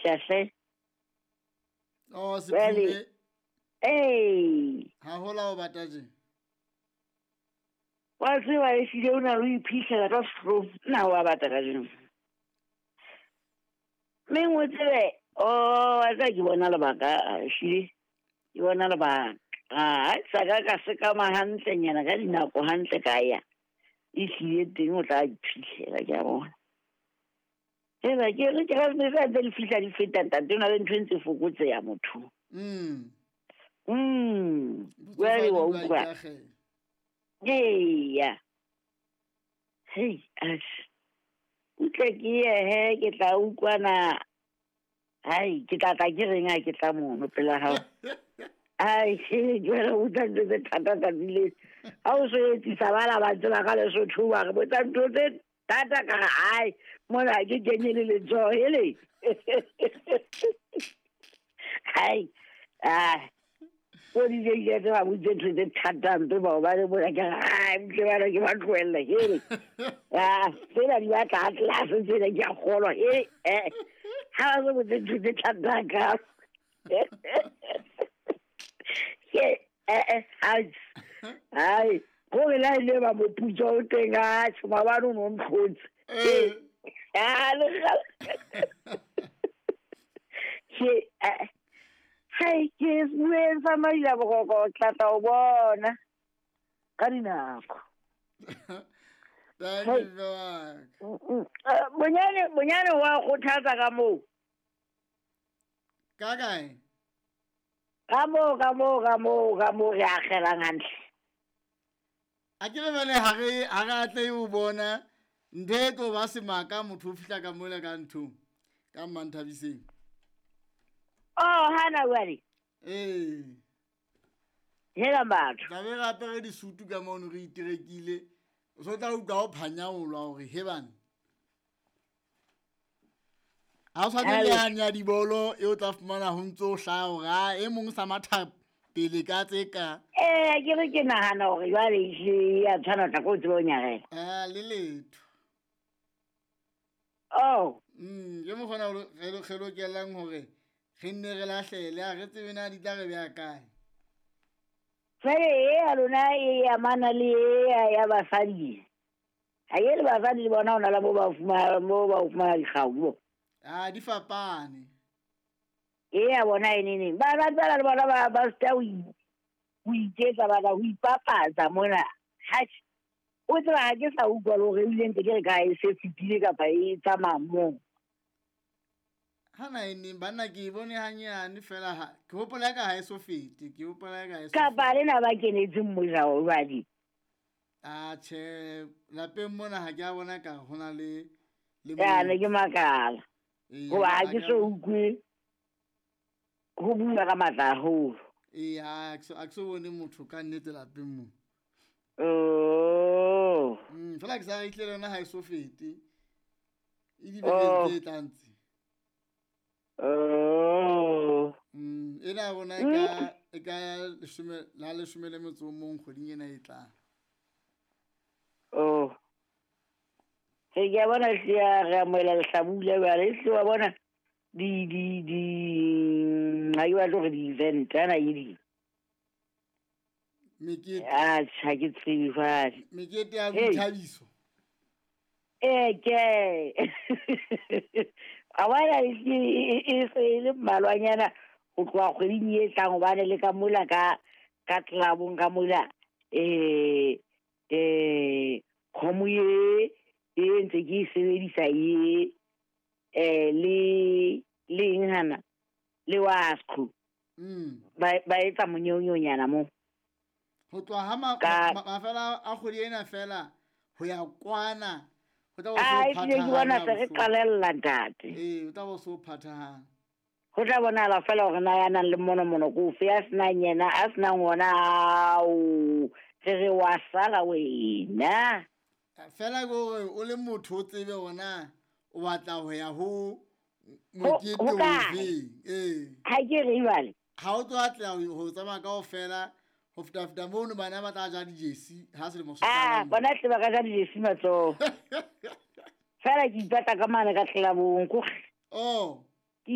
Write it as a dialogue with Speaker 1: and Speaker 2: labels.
Speaker 1: fihla hle.
Speaker 2: Oh, Sephume.
Speaker 1: Ee.
Speaker 2: Ha hola o bata je.
Speaker 1: Wa tseba e hlile o na le ho iphihlela ka sehlong. Nna wa bata kajeno. Mme o tsebe, oh, wa tseba ke bona lebaka, ehlile ke bona lebaka. Ha sa ka ka sekama hantlenyana ka dinako hantle ka ya. Ehlile teng o tla iphihlela ke a bona. Eba ke re ke ra ntse di fihla di feta ntate o na le ntho e ntse fokotseya motho. Jwale wa utlwa. Eya. Hei, atjhe. Utle ke ye he ke tla utlwana. Hai, ke tla tla ke reng ha ke tla mono pela hao. Ai, jwale o utlwa ntho tse thata tsatsi le. Ha o so etsisa bana ba tseba ka Lesotho wa re botsa ntho tse thata ka re ai, mona ha ke kenye le letsoho hele. Hai. Ah. O di je ile tse ba botse ntho tse thata mpe bao ba le bona ke re ai, mpe bana ke ba tlohelle hele. Ah, tsena di batla ha tlase tsena ke a kgolwa hele. Eh. Ha ba so botse ntho tse thata ka. Ke ai. Ai, gore la ile ba moputso o teng a tjho maobane o no ntlhotse. Ah, le ga. Ke hai, ke bueng sa maila boroko tla tla o bona ka dinako.
Speaker 2: Thank you, Mark.
Speaker 1: Bonyane bonyane wa kgothatsa ka moo.
Speaker 2: Ka kae?
Speaker 1: Ka moo ka moo ka moo ka moo re akgelang hantle.
Speaker 2: A ke re bale ha re atlehe ho bona ntho e tlo ba semaka motho o fihla ka mole ka nthong ka Mmanthabiseng.
Speaker 1: Oh, hana jwale.
Speaker 2: Ee.
Speaker 1: Hela batho.
Speaker 2: Tla be re apere disutu ka mono re iterekile. O so tla utlwa o phanyaolwa hore he bana. Ha o tshwane le yane ya dibolo e o tla fumana ho ntso hlaha hore a e mong sa matha pele ka tse ka.
Speaker 1: Eh, ke re ke nahana hore jwale e ya tshwana tla ko tsebe o nyarela.
Speaker 2: Ah, le letho.
Speaker 1: Oh.
Speaker 2: Ke mokgona re lokelang hore re nne re lahlele a re tsebe na di tla re beha kae.
Speaker 1: Jwale e ya lona e amana le e ya basadi. Ha e le basadi le bona ona la mo ba fumana mo ba fumana dikgau bo.
Speaker 2: Ah, di fapane.
Speaker 1: E ya bona e neng. Ba ba le bona ba ba sta o iketsa ba ho ipapatsa mona. Ha o tseba ha ke sa utlwa le hore ebile ntse ke re ka e se fetile kapa e tsamaya moo.
Speaker 2: Hana e neng banna ke e bone hanyane fela ha ke hopola ka ha e so fete, ke hopola ka e so.
Speaker 1: Kapa le na ba kenetseng mojao jwale.
Speaker 2: Ah, tjhe, lapeng mona ha ke a bona ka hona le
Speaker 1: Ya ne ke makala. Hoba ha ke so utlwe ho bua ka matla haholo.
Speaker 2: Ee, ha ke so bone motho ka nnete lapeng mo.
Speaker 1: Oh.
Speaker 2: Fela ke sa re itlele yona ha e so fete. E dibekeng tse tlang tse.
Speaker 1: Oh.
Speaker 2: Ena bona e ka la leshome le metso o mong kgweding ena e tlang.
Speaker 1: Oh. Ke a bona hle re amohela lehlabula jwale hle wa bona di ha ke batle hore di-event ana ke di.
Speaker 2: Mekete.
Speaker 1: Ah, ha ke tsebe jwale.
Speaker 2: Mekete ya boithabiso.
Speaker 1: Eh, ke. A bona e se e le mmalwanyana ho tloha kgweding e tlang hobane le ka mola ka clubong ka mola kgomo e ntse ke e sebedisa e le eng hana le wasco. Ba etsa monyeonyana mo.
Speaker 2: Ho tloha ha mafela a kgwedi ena fela ho ya kwana ho tla bo so
Speaker 1: phathahana. Ke bona se re qalella ntate.
Speaker 2: Ee, o tla bo so phathahana.
Speaker 1: Ho tla bonahala fela hore na ya nang le monomono ko ofe ya senang yena a senang ona ao re re wa sala wena.
Speaker 2: Fela ke hore o le motho o tsebe hore o batla ho ya ho mokete ofeng. Ee.
Speaker 1: Ha ke re jwale.
Speaker 2: Ha o tlo atleha ho tsamaya kaofela ho feta mono bana ba tla ja dijesi ha selemo se
Speaker 1: qala. Ah, bona tle ba ka ja dijesi matsoho. Fela ke ipata ka mane ka tlelabong ko.
Speaker 2: Oh.